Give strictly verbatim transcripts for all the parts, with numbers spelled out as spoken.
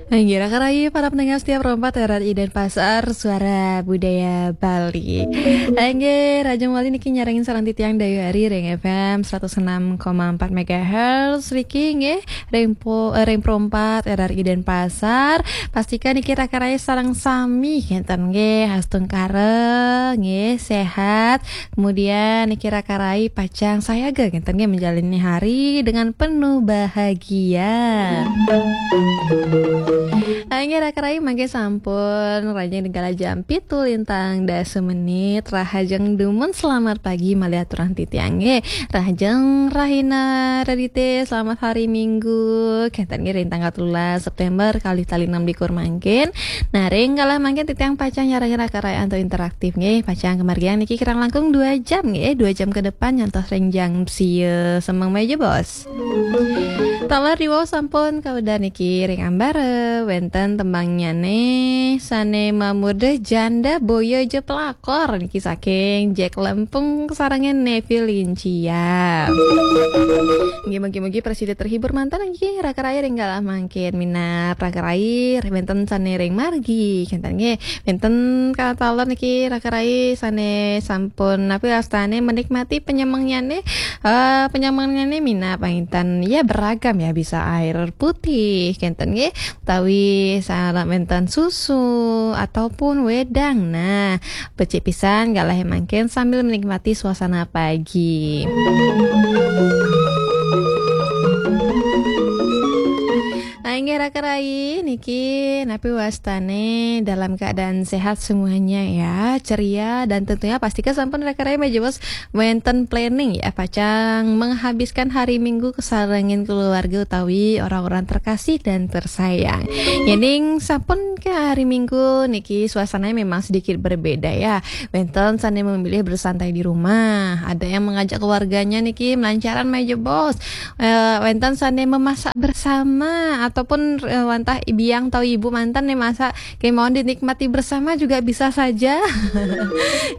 Inggih, raka rayi para pendengar setia Pro empat R R I Denpasar, Suara Budaya Bali. Inggih, rahajeng malih niki nyarengin sareng titiang Dayu Ari ring F M seratus enam koma empat megahertz. Riki nggih, ring po-, eh, ring Pro empat R R I Denpasar. Pastika niki raka rayi sareng sami, kenten nggih, astungkara nggih, sehat. Kemudian niki raka rayi pacang sayaga, kenten nggih, menjalani hari dengan penuh bahagia. Inggih, raka rayi mangke sampun rahajeng ring galah jam pitu lintang dasa menit. Rahajeng dumun, selamat pagi malih aturang titiang nggih. Rahajeng rahina Redite, selamat hari Minggu. Kenten nggih, ring tanggal telulas September kalih tali enam likur mangkin. Nah, ring galah mangkin titiang pacang nyarengin raka rayi antuk interaktif nggih. Pacang kamargiang niki kirang langkung dua jam nggih, dua jam ke depan nyantos ring jam sia semeng meja, Bos. Taler diwau sampun kawedar niki ring ambara, wenten tembangnyané sané mamurda Janda Boya Ja Pelakor niki saking Jack Lempung sarengin Nevi Lincia. Nggih, mugi-mugi prasida terhibur manten nggih, raka rayi ring galah mangkin minab raka rayi, wenten sané ring margi, kenten nggih. Wenten kataler niki raka rayi sané sampun napi wastané menikmati penyemengnyané, eh, penyemengnyané minab panginten. Ya, beragam ya, bisa air putih, kenten nggih, utawi sareng wenten susu ataupun wedang. Nah, becik pisan galah mangkin sambil menikmati suasana pagi. Nah, inggih raka rayi niki napi wastané dalam keadaan sehat semuanya ya, ceria, dan tentunya pastika sampun raka rayi meja bos wenten planning ya, pacang menghabiskan hari Minggu kesarengin keluarga utawi orang-orang terkasih dan tersayang. Yening sampun ke hari Minggu niki suasananya memang sedikit berbeda ya. Wenten sané memilih bersantai di rumah, ada yang mengajak keluarganya niki melancaran meja bos. Eh, wenten sané memasak bersama ataupun, eh, wantah biang atau ibu manten nih masak, kemauan dinikmati bersama juga bisa saja.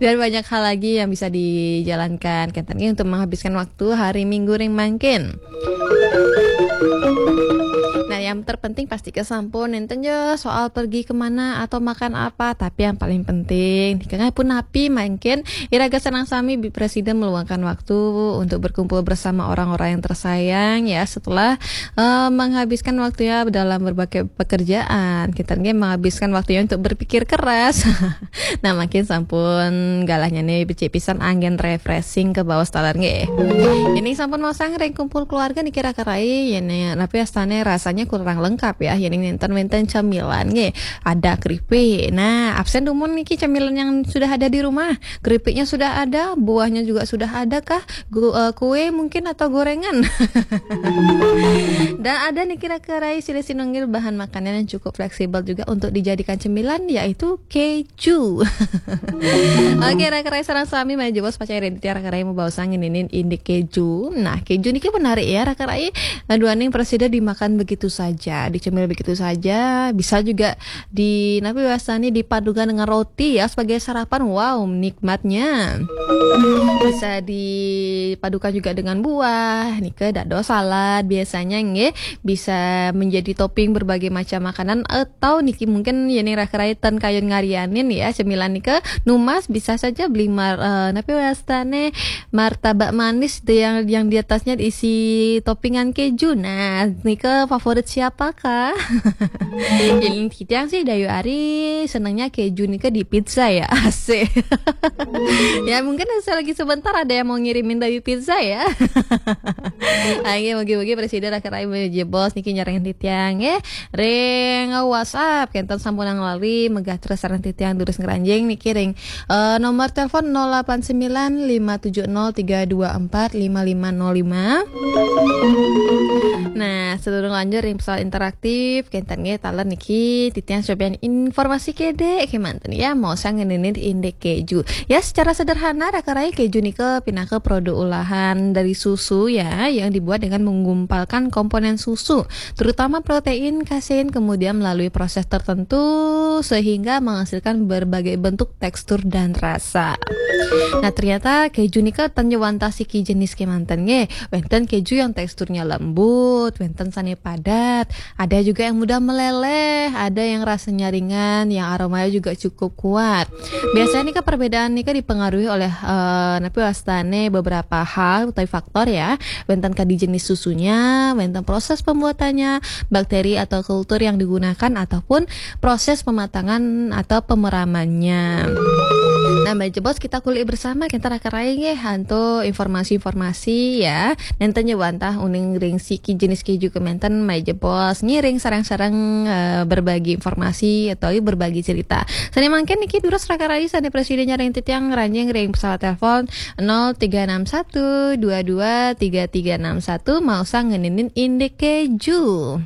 Dan banyak hal lagi yang bisa dijalankan. Kenten nggih untuk menghabiskan waktu hari Minggu ring mangkin. Nah, yang terpenting pasti kesampun enten ya soal pergi kemana atau makan apa, tapi yang paling penting nika pun napi mangkin iraga sareng sami bi-, prasida meluangkan waktu untuk berkumpul bersama orang-orang yang tersayang ya, setelah, eh, menghabiskan waktunya dalam berbagai pekerjaan. Kita nggih menghabiskan waktunya untuk berpikir keras. Nah, mangkin sampun galahnyané becik pisan anggén refreshing kabaos taler nggih. Yening sampun maosang ring kumpul keluarga niki raka rayi, yening napi wastané rasanya kurang lengkap ya, yening nénten wénten cemilan nggih. Ada keripik. Nah, absen dumun niki cemilan yang sudah ada di rumah. Keripiknya sudah ada, buahnya juga sudah ada kah? Gu-, eh, kue mungkin atau gorengan. Dan ada niki raka rayi silih sinunggil bahan makanan yang cukup fleksibel juga untuk dijadikan cemilan, yaitu keju. Oke, raka rayi sareng sami malih jebos pacang ring titiang raka rayi mabaosang ngeninin indik keju. Nah, keju niki menarik ya raka rayi. Duaning prasida dimakan begitu saja, dicemil begitu saja, bisa juga di, napi wastané, dipadukan dengan roti ya sebagai sarapan. Wow, nikmatnya. Bisa dipadukan juga dengan buah, nika dados salad biasanya nggih. Bisa menjadi topping berbagai macam makanan atau niki mungkin yening raka rayi ten kayun ngarianin ya, cemilan nika numbas bisa saja beli mar-, eh, napi wastané, martabak manis itu yang, yang di atasnya diisi toppingan keju. Nah, nika favorit siapakah? Yening titiang sih Dayu Ari senengnya keju nika di pizza ya. Asik. Ya, mungkin selagi sebentar ada yang mau ngirimin Dayu pizza ya. Oke, mugi-mugi prasida raka rayi malih jebos niki nyarengin titiang nggih. Ring WhatsApp kenten sampun ngalih megah terus sareng titiang durus ngranjing niki ring, eh, nomor telepon nol delapan sembilan lima tujuh nol tiga dua empat lima lima nol lima. Nah, sadurung lanjut ring pesawat interaktif, kenten nggih taler niki titiang cobian informasi kedék kémanten ya, maosang ngeninin indik keju. Ya, secara sederhana raka rayi keju nika pinaka produk olahan dari susu ya, yang dibuat dengan menggumpalkan komponen susu, terutama protein, kasein, kemudian melalui proses tertentu sehingga menghasilkan berbagai bentuk, tekstur, dan rasa. Nah, ternyata keju nika ten wantah siki jenis kémanten nggih. Wénten keju yang teksturnya lembut, wénten sané padat, Ada juga yang mudah meleleh, ada yang rasanya ringan, yang aromanya juga cukup kuat. Biasanya nih, Kak, perbedaan nih, Kak, dipengaruhi oleh, eh, napi wastane beberapa hal atau faktor ya. Wénten kadi jenis susunya, wénten proses pembuatannya, bakteri atau kultur yang digunakan, ataupun proses pematangan atau pemeramannya. Nah, Mbak Jebos, kita kulik bersama, kita raka rai nggih, antuk informasi-informasi ya. Nénten ya wantah uning ring siki jenis kéju keménten, Mbak Jebos ngiring sareng-sareng, eh, berbagi informasi atau berbagi cerita. Sané mangkin niki durus raka rai sané prasida nyarengin titiang ngranjing ring pesawat telepon nol tiga enam satu dua dua tiga tiga enam satu, maosang ngeninin indik kéju.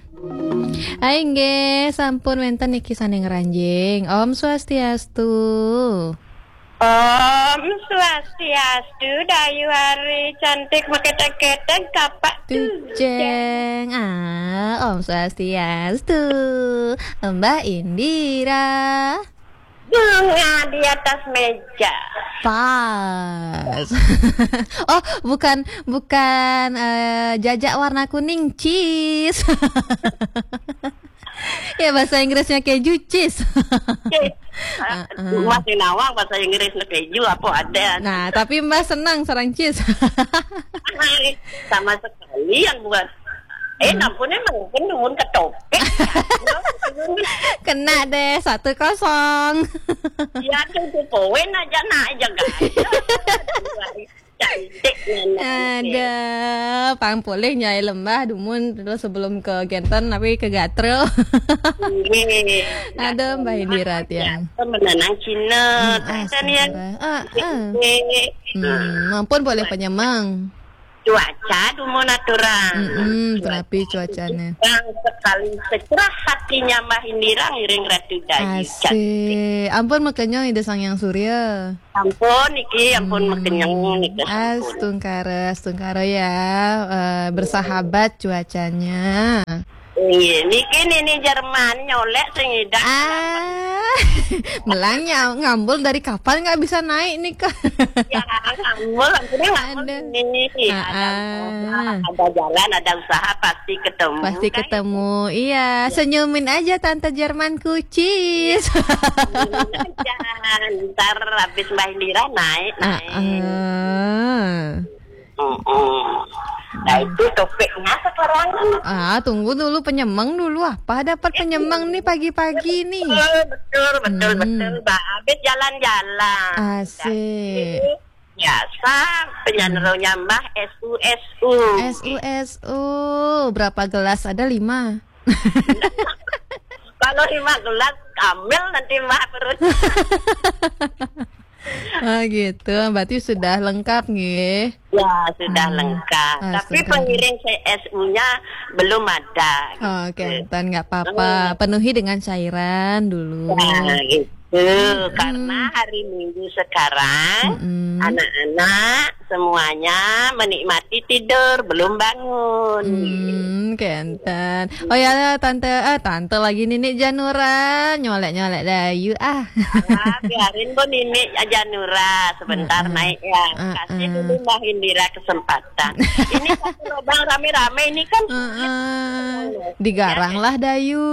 Hai nggih, sampun wénten niki sané ngranjing. Om Swastiastu. Om Swastiastu, Dayu Ari cantik, maketek-ketek, kapak tujeng. Tujeng. Ah, Om Swastiastu. Mbah Indira. Bunga di atas meja. Pas. Oh, bukan, bukan, eh, jajak warna kuning, cheese. Ya, bahasa Inggrisnya keju, cheese. Cheese. Ah, ah. Masih nawang bahasa Inggris na keju apa ada. Nah, tapi Mbah senang sareng cheese. Sama sekali yang buat. Eh, hmm. Nampun emang, kan nuwun ketopik. Kena deh, satu kosong. Ya, tuh, tuh, poin aja, nah, aja, guys. Cantik, nah, nah, ada, pang polih nyai lembah, dumun, terus sebelum ke genten, tapi ke gatrel. Iya. Ada, Mbah Indira, tiang. Menenang Cina, hmm, ah, ya. Ah, ah. Hmm, ampun, boleh penyemang. Cuaca dumun aturan. Mm-mm, cuaca terapi cuacanya. Terang sekali, secerah hatinya Mbah Indira ngiring Ratu Dayu. Asik. Ampun makenyong Ida Sang Hyang Surya. Ampun niki, ampun, hmm, makenyong niki. Astungkara, astungkara ya, eh, bersahabat cuacanya. Iya, niki nini Jerman nyolek sing idak. Ah, melang ya, ngambul dari kapan nggak bisa naik nih, Kak? Ya, ngambul, akhirnya ngambul. Ada. Ini, ah, ada usaha, ada jalan, ada usaha, pasti ketemu, pasti kan? Ketemu. Iya, ya. Senyumin aja Tante Jerman kucis. Ya, senyumin aja. Ntar habis Mbah Indira naik, ah, naik. Ah. Mm-mm. Nah, itu topiknya sekarang. Ah, tunggu dulu, penyemang dulu. Apa dapat penyemang nih pagi-pagi nih? Betul, betul, betul, hmm, betul, Mbak. Habis jalan-jalan. Asik. Jadi, biasa penyanyi nyambah S U S U. S U S U. Berapa gelas? Ada lima. Kalau lima gelas, ambil nanti Mbak perut. Oh gitu, berarti sudah lengkap nggih? Ya, sudah lengkap. Ah, tapi pengiring C S U-nya belum ada, gitu. Oh, oke, nggak apa-apa. Hmm. Penuhi dengan cairan dulu. Nah, gitu. Hmm. Karena hari Minggu sekarang, anak-anak semuanya menikmati tidur, belum bangun. Hmm, kenten. Oh ya, Tante, eh, Tante lagi, Nini Janura, nyolek-nyolek Dayu, ah. Ah, biarin, Bu, Nini Janura sebentar naik ya. Kasih dulu Mbah Indira kesempatan. Ini satu lubang rame-rame, ini kan sulit. Digarang lah Dayu.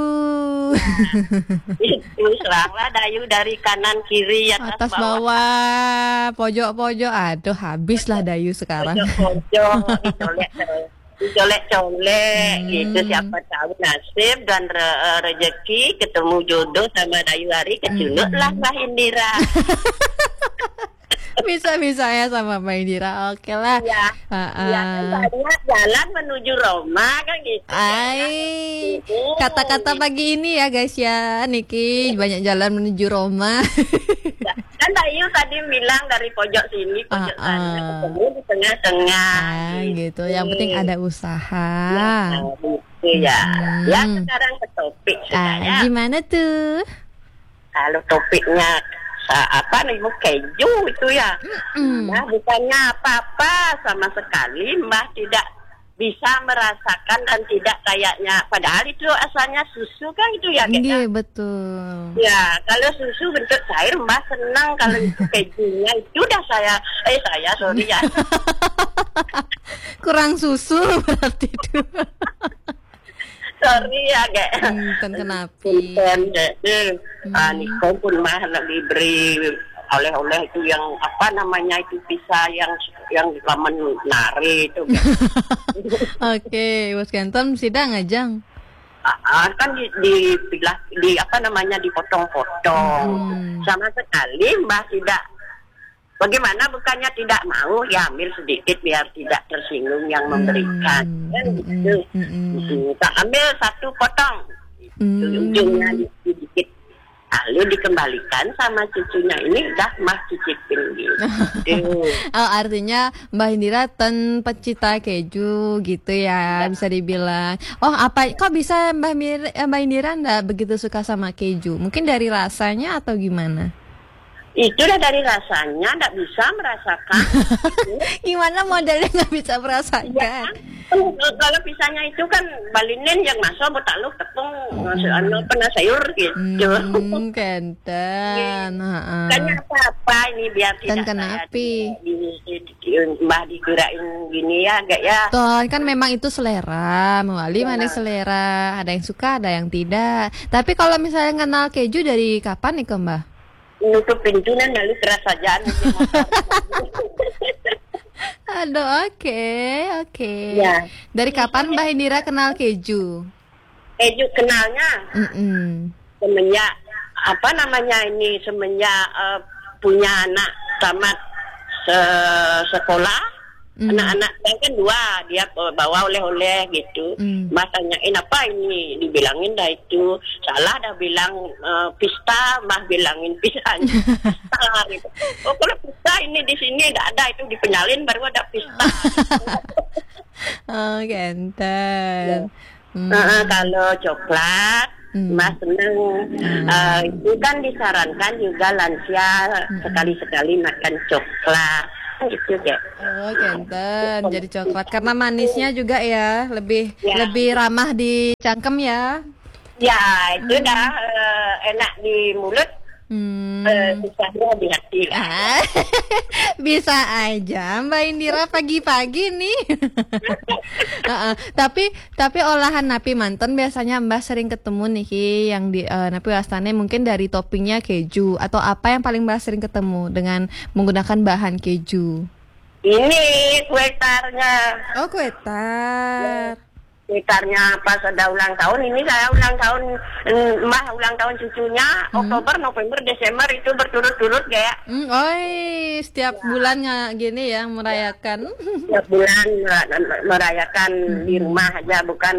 Itu, seranglah Dayu dari kanan kiri, atas bawah. Atas bawah, pojok-pojok. Aduh, habislah Dayu sekarang. Pojok-pojok, dicolek-colek, dicolek-colek, gitu. Siapa tahu nasib dan re-, eh, rezeki ketemu jodoh sama Dayu hari, kecunduklah Mbah Indira. Bisa-bisa ya sama Mbak Indira. Oke lah. Iya. Heeh. Iya, kan banyak jalan menuju Roma, kan gitu. Ai, kata-kata pagi ini ya, guys, ya, niki banyak jalan menuju Roma. Kan Mbak Yu tadi bilang dari pojok sini, pojok sana, ketemu di tengah-tengah. Ah, gitu. Yang penting ada usaha. Ya, gitu ya. Ya, sekarang ke topik sudah ya. Gimana tuh? Kalau topiknya sa-, apa nih, Bu, keju itu ya. Nah, bukannya apa-apa sama sekali, Mbah tidak bisa merasakan dan tidak kayaknya, padahal itu asalnya susu kan itu ya, Kak, ya? Nggih, betul. Ya, kalau susu bentuk cair, Mbah senang, kalau itu kejunya itu udah saya, eh, saya, sorry ya. Kurang susu berarti itu. Sorry ya, Gek. Hmm, ten kenapi. Punten, Gek. Eh, ah, hmm. Niko pun mah nak diberi oleh-oleh itu yang apa namanya itu pisang yang yang lamen nari itu, Gek. Oke, Bos Ganteng sida ngajang. Ah, ah, kan di, di, di apa namanya dipotong-potong. Hmm. Sama sekali Mbah tidak. Bagaimana bukannya tidak mau, ya ambil sedikit biar tidak tersinggung yang memberikan. Hmm, kan hmm, gitu. Hmm, hmm. Hmm, tak ambil satu potong. Hmm. Ujungnya sedikit. Lalu dikembalikan sama cucunya ini, dah mah cicipin gitu. Oh, artinya Mbah Indira ten pecinta keju gitu ya, ya, bisa dibilang. Oh, apa kok bisa Mbah Mir, eh, Mbah Indira ndak begitu suka sama keju? Mungkin dari rasanya atau gimana? Itu dah dari rasanya, ndak bisa merasakan. Gimana modelnya nggak bisa merasakan? Ya, kan, kalau pisangnya itu kan balinen yang masuk botak lu tepung, hmm, masuk anu pernah sayur gitu. Hmm, kenten. Iya. Heeh. Bukannya apa-apa ini biar tidak. Dan kenapa? Di, di, di, di, Mbah dikirain gini ya, agak ya. Toh, kan memang itu selera, mewali mana selera. Ada yang suka, ada yang tidak. Tapi kalau misalnya kenal keju dari kapan nih, Mbah? Nutup pintu dan lalu terasa jalan. Aduh, oke, oke. Ya. Dari kapan Mbah Indira kenal keju? Keju kenalnya, mm-mm, semenjak apa namanya ini, semenjak, eh, punya anak tamat se-, sekolah. Hmm. Anak-anak saya kan dua, dia bawa oleh-oleh gitu. Hmm. Mbah tanyain, "Apa ini?" Dibilangin dah itu. Salah dah bilang, eh, pista, Mbah bilangin pisang. Salah gitu. "Oh, kalau pista ini di sini ndak ada, itu di Penyalin baru ada pista." Oh, ganteng. Ya. Hmm. Heeh, kalau coklat, hmm, Mbah seneng. Hmm. Eh, itu kan disarankan juga lansia, hmm, sekali-sekali makan coklat. Gitu, Dek. Oh, ganteng. Jadi coklat. Karena manisnya juga ya, lebih, ya, lebih ramah di cangkem ya. Ya, itu, hmm, dah, eh, enak di mulut. Hmm. Eh, susahnya di hati lah. Ah, bisa aja Mbak Indira pagi-pagi nih. Heeh. Tapi, tapi olahan napi manten biasanya Mbah sering ketemu nih, Ki, yang di, eh, napi wastane mungkin dari toppingnya keju atau apa yang paling Mbah sering ketemu dengan menggunakan bahan keju? Ini kue tarnya. Oh, kue tar. Ya. Sekitarnya pas ada ulang tahun, ini saya ulang tahun, mm, Mbah ulang tahun cucunya, hmm, Oktober, November, Desember itu berturut-turut kayak. Hmm, oi, setiap, ya, bulan nggak gini ya, merayakan. Setiap bulan mera-, merayakan, hmm, di rumah aja, bukan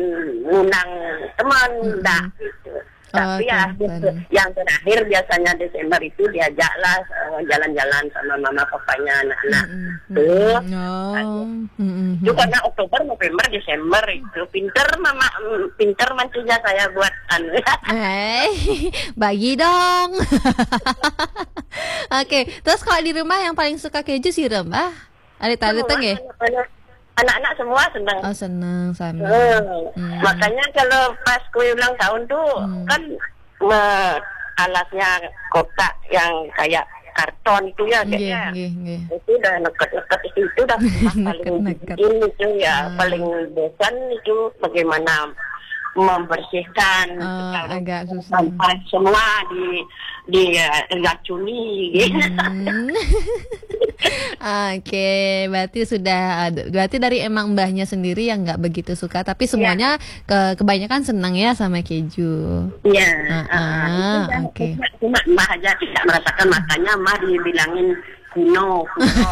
ngundang teman, hmm, enggak gitu. Tapi ya, oke, yang terakhir biasanya Desember itu diajaklah, eh, jalan-jalan sama mama papanya anak-anak. Mm-mm. Tuh. Oh. Mm-mm. Itu karena Oktober, November, Desember itu. Pinter mama, mm, pinter mantunya saya buat anu. Eh, bagi dong. Oke, terus kalau di rumah yang paling suka keju sih, Mbah? Ada tali teng ya? Semua anak-anak, anak-anak semua senang. Oh, senang sama. Hmm. Hmm. Makanya kalau pas kue ulang tahun tuh, hmm, kan me-, alasnya kotak yang kayak karton itu ya, Dek, nggih, ya. Nggih, nggih. Itu udah neket-neket itu, itu udah paling neket-neket. Bikin itu ya, hmm, paling bosan itu bagaimana membersihkan. Oh, kalau agak susah. Sampah semua di, di, eh, racuni gitu. Hmm. Oke, berarti sudah ada, berarti dari emang mbahnya sendiri yang nggak begitu suka, tapi, ya, semuanya ke-, kebanyakan senang ya sama keju. Iya, heeh, ah, itu dah, oke. Cuma, cuma mbah aja tidak merasakan, makanya mbah dibilangin kuno, kuno.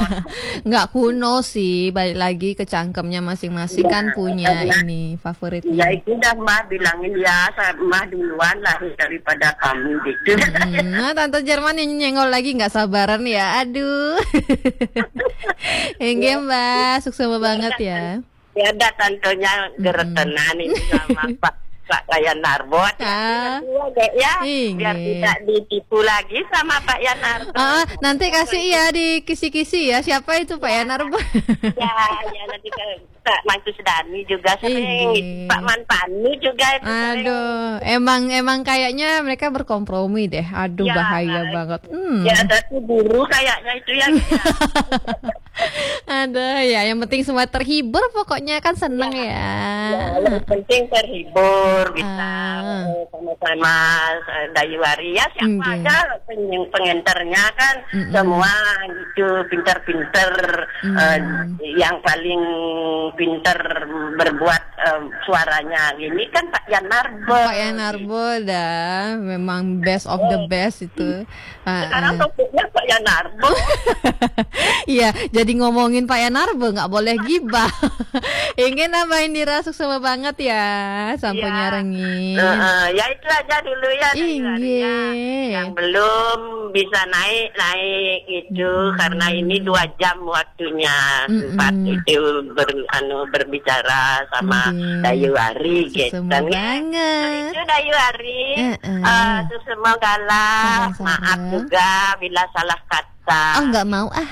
Nggak kuno sih, balik lagi ke cangkemnya masing-masing, ya, kan punya, karena ini favoritnya. Ya, itu dah mbah bilangin, ya, sa-, mbah duluan lahir daripada kami gitu. Hmm, nah, Tante Jerman yang nyenggol lagi nggak sabaran ya, aduh. Enggak, ya, Mbak, sukses banget ya. Ya, ada tantonya, mm-mm, geretenan itu sama Pak, Pak Yan Narbot. Ah. Iya, Dek, ya. Biar, iya, tidak ditipu lagi sama Pak Yan Narbot. Ah, nanti kasih ya di kisi-kisi ya, siapa itu Pak, ya, Yan Narbot? Ya, ya, nanti ke Pak Mantu Sedani juga sering, iya, gitu. Pak Manpani juga itu sering. Aduh, emang, emang kayaknya mereka berkompromi deh. Aduh, ya, bahaya banget. Hmm. Ya, ada tuh guru kayaknya itu ya, gitu ya. Ada ya, yang penting semua terhibur, pokoknya kan seneng ya. Ya, yang penting terhibur, bisa, eh, sama-sama, eh, Dayu Ari. Ya, siapa aja peng-, pengenternya kan, semua itu pinter-pinter, eh, yang paling pinter berbuat, eh, suaranya ini kan Pak Yan Narbo. Pak Yan Narbo dah, memang best of the best itu. Sekarang topiknya Pak Yan Narbo. Iya, jadi ngomongin Pak Yan Narbo, nggak boleh gibah. Inggih, Mbah Indira, suksma banget ya, sampun nyarengin. Heeh, ya itu aja dulu ya, Dayu Ari, ya. Yang belum bisa naik, naik itu, karena ini dua jam waktunya. Sempat itu ber-, anu, berbicara sama Dayu Ari, gitu. Suksma banget. Itu Dayu Ari, eh, suksma galah. Maaf juga bila salah kata. Oh, nggak mau ah.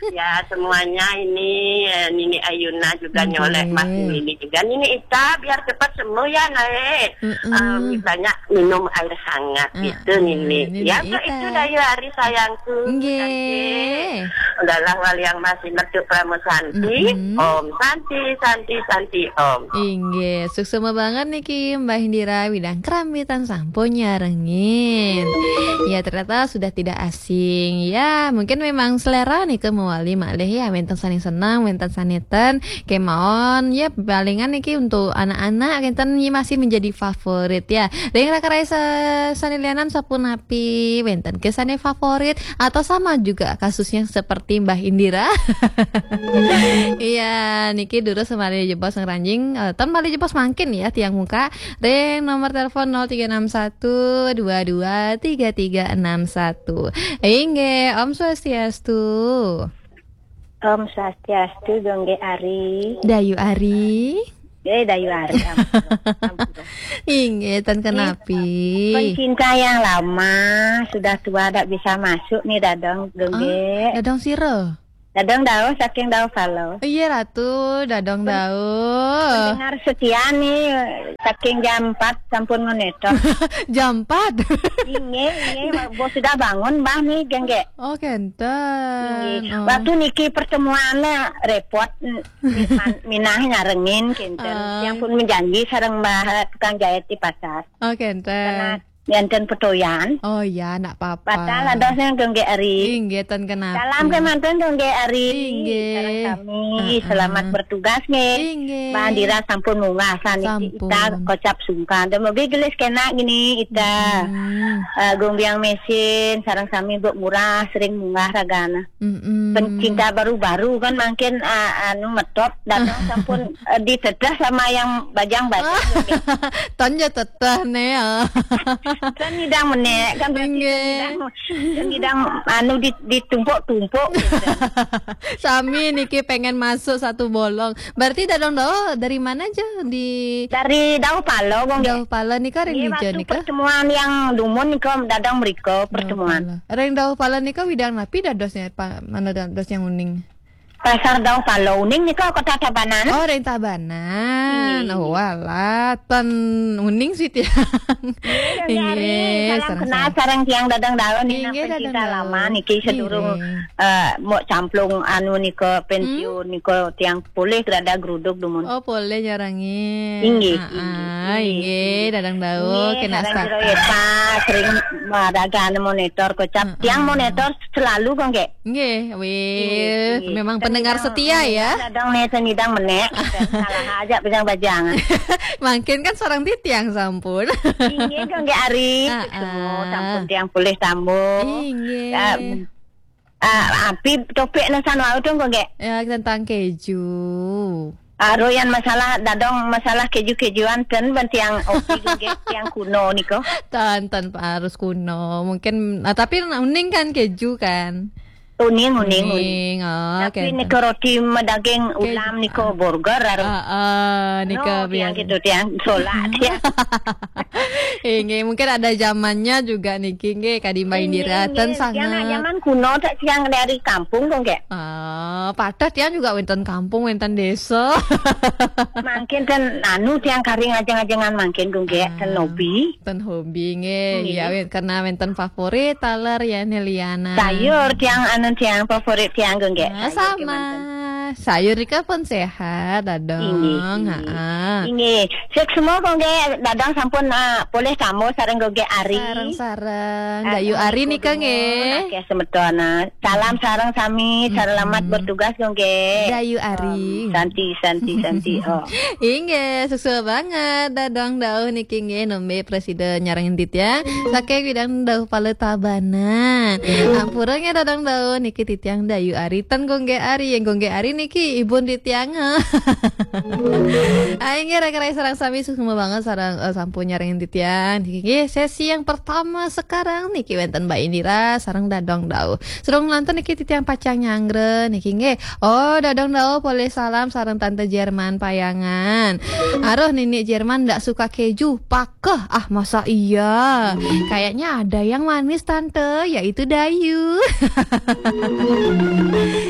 Ya, semuanya ini, eh, Nini Ayuna juga nyolek, Mas Nini juga. Nini Ita, biar cepat sembuh ya, Nae. Eh, banyak minum air hangat gitu, Nini. Ya, Nini Ita. Itu Dayu Ari sayangku. Nggih. Udahlah, wali yang masih metu Pramo Santi. Om Santi, Santi, Santi, Om. Inggih, suksma banget niki Mbah Indira, widang kerambitan sampun nyarengin. Ya, ternyata sudah tidak asing. Ya, mungkin memang selera nih ke mewali malih ya, wenten sane seneng, wenten sane ten, kemawon ya, palingan niki untuk anak-anak, wenten ini masih menjadi favorit ya. Ring raka-raka sa-, sane lianan sapunapi, wenten ke sane favorit atau sama juga kasusnya seperti Mbah Indira? Iya, niki durus malih jebos ngranjing, eh, ten malih jebos mangkin ya, tiang muka. Ring nomor telepon nol tiga enam satu dua dua tiga tiga enam satu. Inggih, Om Swastiastu. Om Swastiastu, Gongge Ari. Dayu Ari. Eh, Dayu Ari, ampun, ampun. Inggih, ten kenapi. Pencinta yang lama, sudah tua, tak bisa masuk nih, Dadong, Gongge. Ah, Dadong sira? Dadong Dao, saking Dao Palo. Iya, Ratu, Dadong Dao. Pendengar setia nih, saking jam empat sampun ngonetok. Jam empat? Inggih, inggih, bos sudah bangun, Mbah nih, Gongge. Oh, kenten. Inggih. Oh. Waktu niki pertemuannya repot, n-, min-, minah nyarengin, kenten. Ah. Yang pun menjanji sareng Mbah tukang jahit di pasar. Oh, kenten. Karena enten petoyan. Oh iya, ndak apa-apa. Batal adosnya, Gongge Ari. Inggih, ten kenapi. Salam kemanten, Gongge Ari. Inggih. Sareng sami, heeh, selamat bertugas nggih. Inggih. Mbah Indira sampun munggah saniki. Sampun. Ita kocap sungkan. Dumugi gelis kena gini, Ita. Hmm. Eh, Gumbiang Mesin, sareng sami Mbok Murah, sering munggah ragana. Mm-mm. Pencinta baru-baru kan mangkin, ah, anu, metop, datang sampun, eh, ditedah sama yang bajang-bajang. Ton ya teteh ne, ya. Kan nyidang menek, kan berarti inggih. Nyidang, nyidang anu di-, ditumpuk-tumpuk gitu. Sami niki pengen masuk satu bolong. Berarti Dadong Dao dari mana aja? Di Dari Dao Palo, Gongge. Dao Palo nika ring dija nika? Pertemuan yang dumun nika Dadong mriko pertemuan. Dao Palo. Ring Dao Palo nika widang napi dadosnya, Pak? Mana dados yang uning? Pasar Dao Palo uning nika Kota Tabanan. Oh, ring Tabanan. Inggih. Oh, walah, ten uning sih tiang. Inggih, Gongge Ari. Inggih, salam kenal sareng tiang Dadong Dao nih, inggih, pencinta Dadong Dao lama niki sedurung, inggih, eh, Mbok Camplung anu nika pensiun nika tiang polih grada gruduk dumun. Oh, polih nyarengin. Inggih, ah, inggih, ah, inggih, inggih. Dadong Dao, inggih, kena sareng sta- jero ya, Pak, sering maraga anu monitor kocap. Heeh. Tiang monitor selalu kok, nggih. Nggih, wih, inggih, inggih. Memang pendengar setia ya. Dadong nih, seni dang menek. Salah aja bajang-bajang. Mangkin kan sareng titiang sampun. Inggih, kok nggih Ari. Heeh. Semua sampun tiang polih tambuh. Inggih. Ya, ah, api topik nesan wau dong, kok, nggih? Ya, tentang keju. Ah, ro yan masalah dadong, masalah keju-kejuan ten ben tiang opi nggih, tiang kuno niko. Ten, ten harus kuno. Mungkin, ah, tapi uning kan keju kan? Uning, uning, uning. Uning, oh, tapi niko roti medaging ulam niko burger, aro. Ah, ah, niko no, tiang biasa. Gitu, tiang solak, tiang. Inggih, mungkin ada zamannya juga niki, nggih, kadi Mbak Indira, inggih, ten inggih. Tiang nak sangat zaman kuno, tak tiang dari kampung kok, nggih. Ah, padahal tiang juga wenten kampung, wenten desa. Mangkin ten anu tiang kari ngajeng-ajengan mangkin kok, nggih, ten hobi. Ten hobi, nggih. Nggih. Ya, wen-, karena wenten favorit, taler ya, Neliana. Sayur tiang Tiang favorit tiang kangge. Ah, sayur sama. Kemanten. Sayur nika pun sehat, Dadong. Inggih, inggih. Ha. Inggih. Suksma kangge Dadong sampun, ah, polih tamba sareng kangge Ari. Sareng-sareng. Ah, Dayu Ari nika nggih. Oke, semeton. Ah. Salam sareng sami, selamat bertugas kangge. Dayu Ari. Santi, santi, santi. Oh. Inggih, suksma banget Dadong Dauh niki nggih nembe prasida nyarengin titiang. Saking bidang Dauh Pala Tabanan. Ampura nggih Dadong Dauh niki titiang Dayu Ari ten kangge Ari, yen kangge Ari niki ibun titiang. Ayo nggih raka rai sareng sami suksma banget sareng, eh, sampun nyarengin titiang. Niki nggih sesi yang pertama sekarang niki wenten Mbak Indira sareng Dadong Dauh. Sareng lantur niki titiang pacang nyanggra niki nggih. Oh, Dadong Dauh polih salam sareng Tante Jerman Payangan. Aduh, Nini Jerman ndak suka keju. Pakeh. Ah, masa iya? Kayaknya ada yang manis, Tante, yaitu Dayu.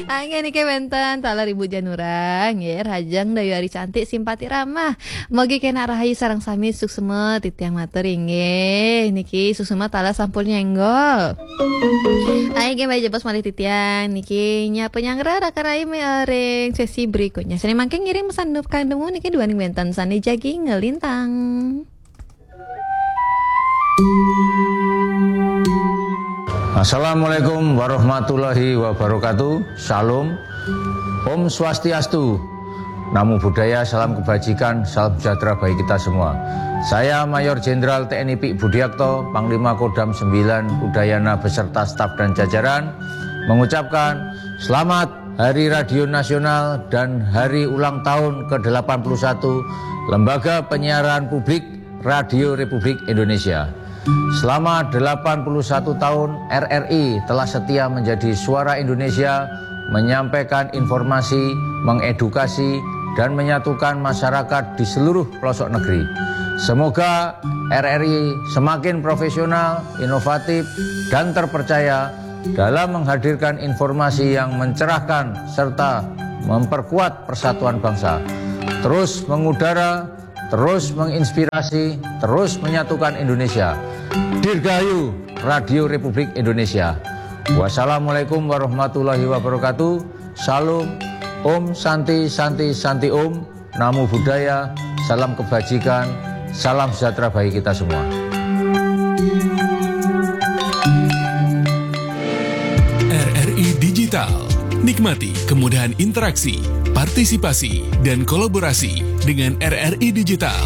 Angge niki wenten taler Ibu Janura, nggih, rahajeng Dayu Ari cantik simpati ramah. Mugi kenak rahayu sareng sami suksma titiang matur inggih. Niki suksma taler sampun nyenggol. Ayo nggih, malih jebos malih titiang niki nyapa nyanggra raka rai me-, ring sesi berikutnya. Sane mangke ngiring pesan dup kang demu niki duaning wenten sane jagi ngelintang. Assalamualaikum warahmatullahi wabarakatuh. Shalom. Om Swastiastu. Namo Buddhaya, salam kebajikan, salam sejahtera bagi kita semua. Saya Mayor Jenderal T N I Pik Budiakto, Panglima Kodam sembilan Udayana beserta staf dan jajaran, mengucapkan selamat Hari Radio Nasional dan Hari Ulang Tahun ke delapan puluh satu Lembaga Penyiaran Publik Radio Republik Indonesia. Selama delapan puluh satu tahun, R R I telah setia menjadi suara Indonesia, menyampaikan informasi, mengedukasi, dan menyatukan masyarakat di seluruh pelosok negeri. Semoga R R I semakin profesional, inovatif, dan terpercaya dalam menghadirkan informasi yang mencerahkan serta memperkuat persatuan bangsa. Terus mengudara, terus menginspirasi, terus menyatukan Indonesia. Dirgahayu Radio Republik Indonesia. Wassalamualaikum warahmatullahi wabarakatuh. Shalom. Om Santi, Santi, Santi Om. Namo Buddhaya. Salam kebajikan. Salam sejahtera bagi kita semua. R R I Digital. Nikmati kemudahan interaksi, partisipasi, dan kolaborasi dengan R R I Digital.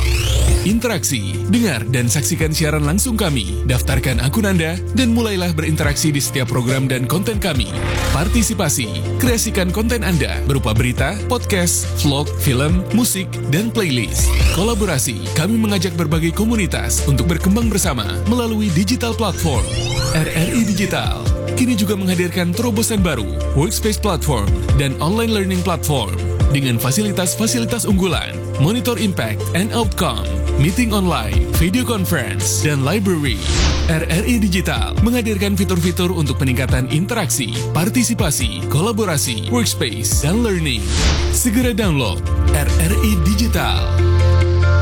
Interaksi, dengar dan saksikan siaran langsung kami, daftarkan akun Anda, dan mulailah berinteraksi di setiap program dan konten kami. Partisipasi, kreasikan konten Anda berupa berita, podcast, vlog, film, musik, dan playlist. Kolaborasi, kami mengajak berbagai komunitas untuk berkembang bersama melalui digital platform. R R I Digital kini juga menghadirkan terobosan baru, Workspace Platform dan Online Learning Platform dengan fasilitas-fasilitas unggulan, Monitor Impact and Outcome, Meeting Online, Video Conference, dan Library. R R I Digital menghadirkan fitur-fitur untuk peningkatan interaksi, partisipasi, kolaborasi, workspace, dan learning. Segera download R R I Digital.